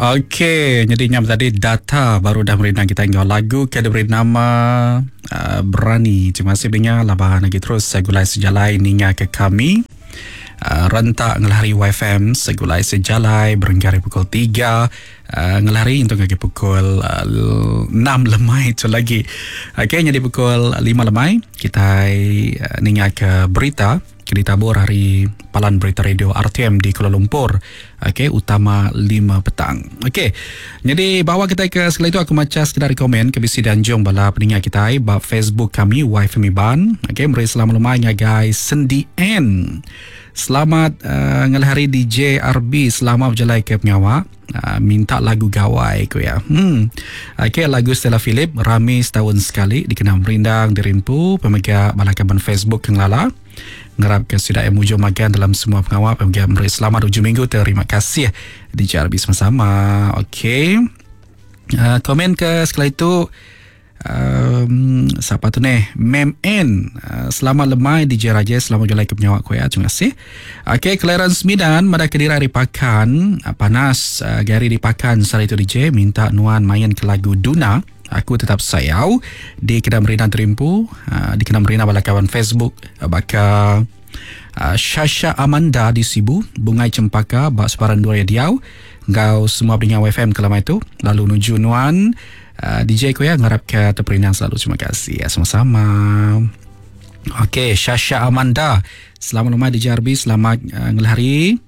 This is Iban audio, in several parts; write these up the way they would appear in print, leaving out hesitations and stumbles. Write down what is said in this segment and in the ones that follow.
Okey, nyadi nya tadi data baru dah merindang kita enggau lagu ke diberi nama uh, Berani. Terima kasih dengar laban lagi terus segulai sejalai ninga ke kami. Uh, rentak ngelahari YFM segulai sejalai berengkah hari pukul 3 uh, ngelahari untuk lagi pukul uh, 6 lemai tu lagi. Okey, nyadi pukul 5 lemai kita uh, ninga ke berita ke ditabur ari Palan Berita Radio RTM di Kuala Lumpur. Okey, utama 5 petang. Okey. Jadi bawa kita ke sekali itu aku maca sekedar komen ke bisi dianjung bala peninga kitai ba Facebook kami YFM Iban. Okey, meri selamat lemai ngagai Sendi N. Selamat uh, ngalih hari DJ RB selama berjalai ke pengawa. Uh, minta lagu gawai ku ya. Hmm. Okey, lagu Stella Philip rami setahun sekali dikena merindang dirimpu pemega bala kaban Facebook ke ngelala. Ngarap ke sida yang mujur magang dalam semua pengawa pemega meri selamat ujung minggu terima kasih DJ RB sama-sama. Okey. Uh, komen ke sekali itu Um, siapa tu ni? Mem N. Uh, selamat lemai DJ Raja, selamat jalan ke penyawak ku ya. Terima kasih. Okey, Clarence Midan pada kedira hari pakan uh, panas uh, gari di pakan sehari tu DJ minta nuan main ke lagu Duna. Aku tetap sayau di Kedai Merina Terimpu, uh, di Kedai Merina bala kawan Facebook uh, baka uh, Shasha Amanda di Sibu, Bungai Cempaka bak Separan Dua Diau, ngau semua pendengar FM kelama itu lalu nuju nuan Uh, DJ ku ya ngarap ke terperindang selalu. Terima kasih ya sama-sama. Okey, Shasha Amanda. Selamat lemai DJ RB, selamat uh, ngelahari.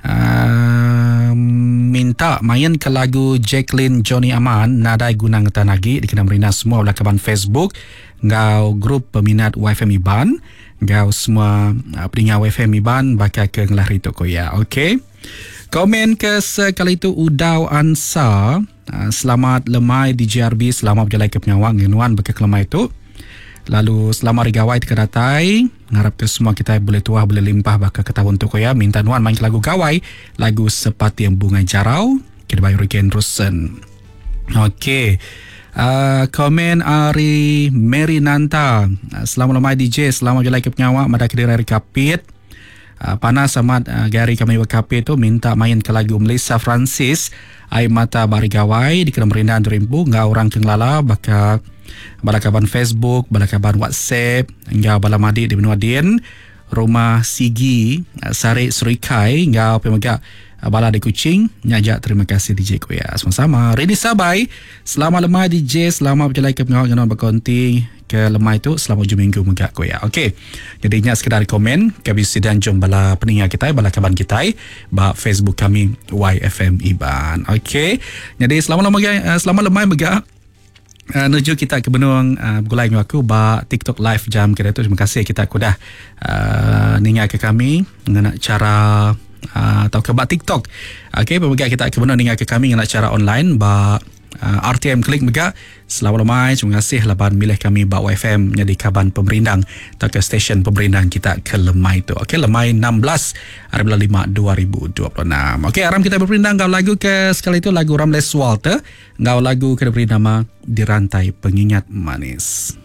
Uh, minta main ke lagu Jacqueline Johnny Aman Nadai Guna Ngetan Lagi dikena merina semua belah kaban Facebook ngau grup peminat YFM Iban ngau semua uh, pendengar YFM Iban bakal ke ngelahari tu ko ya. Okey. Komen ke sekali itu Udau Ansa. Ah, selamat lemai di JRB, selamat berjalan ke penyawang ngenuan beka kelemai itu. Lalu selamat hari gawai teka datai. Ngarap ke semua kita boleh tuah, boleh limpah baka ke tahun tu ya. Minta nuan main lagu gawai, lagu Sepati Yang Bunga Jarau, kita bayar Riken Rusen. Okey. Uh, komen ari Mary Nanta. Uh, selamat lemai DJ, selamat berjalan ke penyawang, mada kediri hari kapit. Uh, panas amat uh, gari kami berkapi tu minta main ke lagu Melissa Francis Air Mata Bari Gawai di kena merindan terimpu ngau orang ke ngelala baka bala kaban Facebook, bala kaban WhatsApp, ngau bala madik di benua din, rumah Sigi, uh, Sarik Serikai, ngau pemega uh, bala di Kuching, nyajak terima kasih DJ Kuya. Sama-sama. Rini Sabai, selamat lemai DJ, selamat berjalan ke pengawal dengan berkonti ke lemai tu selama ujung minggu mega ko ya. Okey. Jadi nya sekadar komen ke bisi dan jom bala peninga kita bala kaban kita ba Facebook kami YFM Iban. Okey. Jadi selamat lemai eh, selamat lemai mega Uh, nuju kita ke benung uh, bergulai dengan aku ba TikTok live jam kita tu. Terima kasih kita aku dah uh, ninga ke kami ngena cara uh, atau ke ba TikTok. Okey, pemegang kita ke benung ninga ke kami ngena cara online ba uh, RTM Klik mega. Selamat lemai, terima kasih laban milih kami ba YFM jadi kaban pemerindang atau ke stesen pemerindang kita ke lemai tu. Okey, lemai 16 hari bulan 5 2026. Okey, aram kita berperindang ngau lagu ke sekali itu lagu Ramles Walter ngau lagu ke diberi nama Dirantai Pengingat Manis.